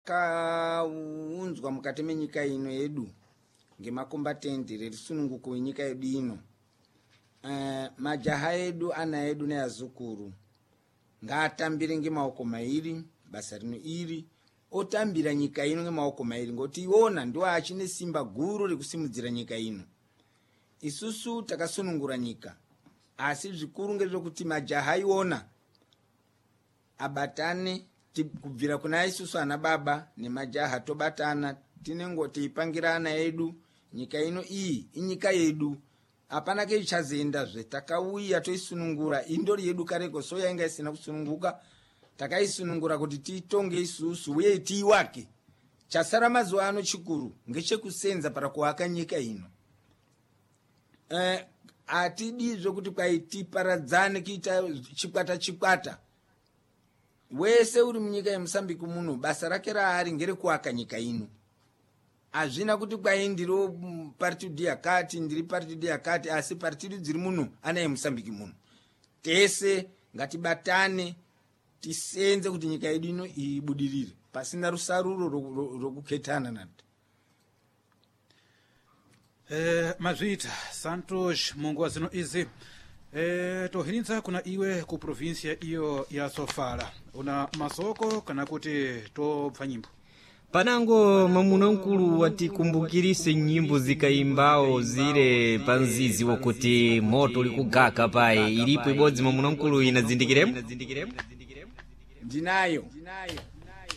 Rakaunzwa mukati menyika ino yedu ngemakombatende rerusununguko wenyika yedu ino. Majaha edu, ana edu neazukuru ngaatambire ngemaoko mairi basa rino iri, otambira nyika ino ngemaoko mairi, ngoti iwona ndiwo achine simba guru rekusimudzira nyika ino. Isusu takasunungura nyika, asi zvikuru ngezvekuti majaha iwona abatane kubvira kuna isusu ana baba nemajaha tobatana, tinengo teipangira ana edu nyika ino iyi inyika yedu, hapana keichazoendazve. Takauya toisunungura, indori yedu kareko, so yainga isina kusununguka, takaisunungura kuti tiitonge isusu uye tiiwake. Chasara mazuva ano chikuru ngechekusenza para kuaka nyika ino. Hatidizve kuti kwai tiparadzane kuita chikwata chikwata. Wese uri munyika yeMosambiki muno basa rake raari ngerekuaka nyika ino. Hazvina kuti kwai ndiri partidu yakati, ndiri partidu yakati, asi partidu dziri muno ana yeMosambiki muno. Tese ngatibatane tisenze kuti nyika yedu ino ibudirire pasina rusaruro rokuketana nati. Mazvita Santos, munguva zino izi tohinitsa kuna iwe ku provinsia iyo ya Sofala, una masoko kana kuti tobva nyimbo? Panango mwamuna mkulu watikumbukirise nyimbo zikaimbawo zile pa mzizi wakuti moto ulikugaka paye, ilipo ibodzi mwamuna mkulu inadzindikiremo? Ndinayo.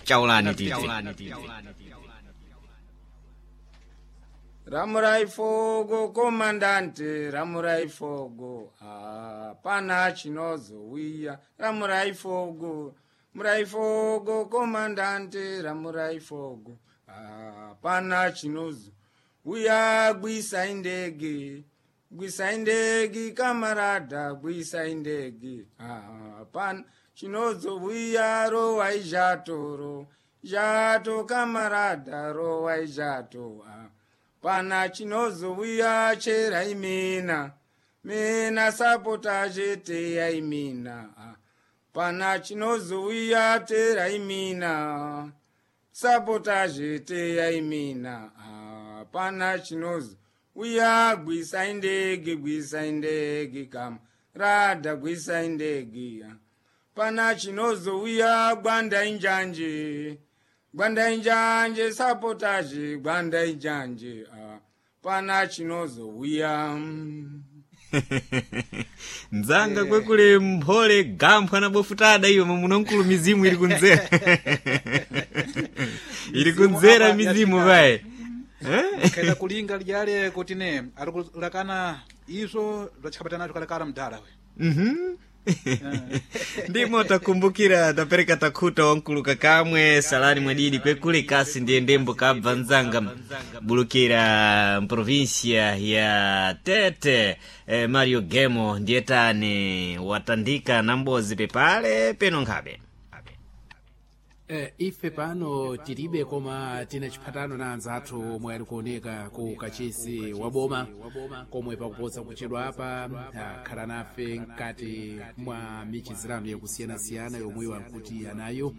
Chaulani tibve. Ramurai fogo komandante, ramurai fogo, hapana chinozowiya. Ramurai fogo, murai fogo komandante, ramurai fogo, hapana chinozo wiya. Gwisai ndege, gwisai ndege kamarada, gwisai ndege, hapana chinozowiya. Rowai zhatoro zhato kamarada, rowai zhato, pana chinozouya. Cherai mina mina sapota cheteyai mina, pana chinozouya. Terai mina sapota cheteyai mina, pana chinozouya. Gwisai ndege, gwisai ndege kama radha, gwisai ndege, pana chinozouya. Gwandai njanje, gwandai njanje sapotaje, gwandai njanje, pana chinozouya. Nzanga kwekule mphole gamphwa na bofutada iwe mwamuna mkulu, mizimu iri kunzera, iri kunzera mizimu paye. Kaita kulinga lijale kuti ne ari kulakana izvo zvachikabata nazvo kalekale mudhara we. Ndimo takumbukira tapereka takhuta wankulu kakamwe salani mwadidi kwekule kasi ndiye ndembo kabva nzanga bulukira mprovinsia ya Tete. Mario Gemo ndiye tani watandika na mbozi pepale peno nkhabe. Ife pano tilibe, koma tina chiphatano na anzathu omwe ali kuoneka ku kachisi wa boma komwe pakupotsa kuchedwa apa akhala nafe mkati mwa michizirano yakusiyanasiyana yomwe iwo ankuti anayo,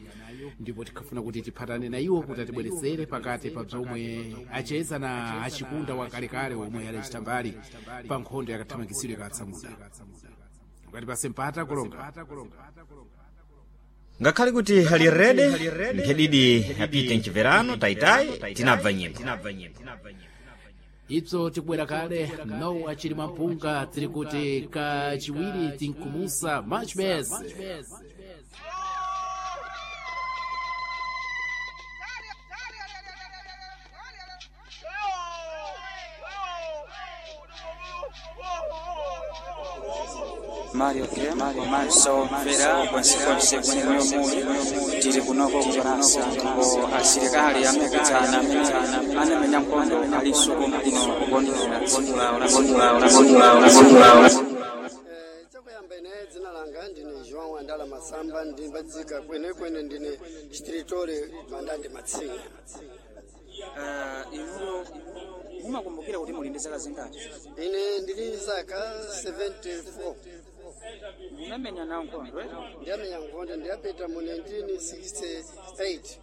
ndipo tikhafuna kuti tiphatane na iwo kuti atibweretsere pakati pa bzomwe acheza na achikunda wakalekale omwe adachita mbali pa nkhondo yakathamangitsidwe katsamunda. Ukati pase mpata kulonga. Ngakhale kuti ali rede nkhedidi apite mchiverano taitayi tinabva nyimbo. Ibzo tikubwera kale nowa chili mwampunga, tiri kuti kachiwiri tinkumusa much best. Mario komanso mvera konsekonse kumene muli, tili kunoko ku Faransa ndipo asilikali amekudzana amene anamenya nkhondo alinso kuno kukondwera tsiku lawo la tsiku lawo la tsiku lawo la tsiku lawo. Chakuyamba ine dzina langa ndine João Andala Masamba, ndimbadzika kwenekwene ndine chitiritory Mandande Matsinga. Inuyo mumakumbukira kuti muli ndi zaka zingati? Ine ndili zaka 74. Munamenya nawo nkhondo, eh? Ndiyamenya nkhondo, ndiyapita mu 1968.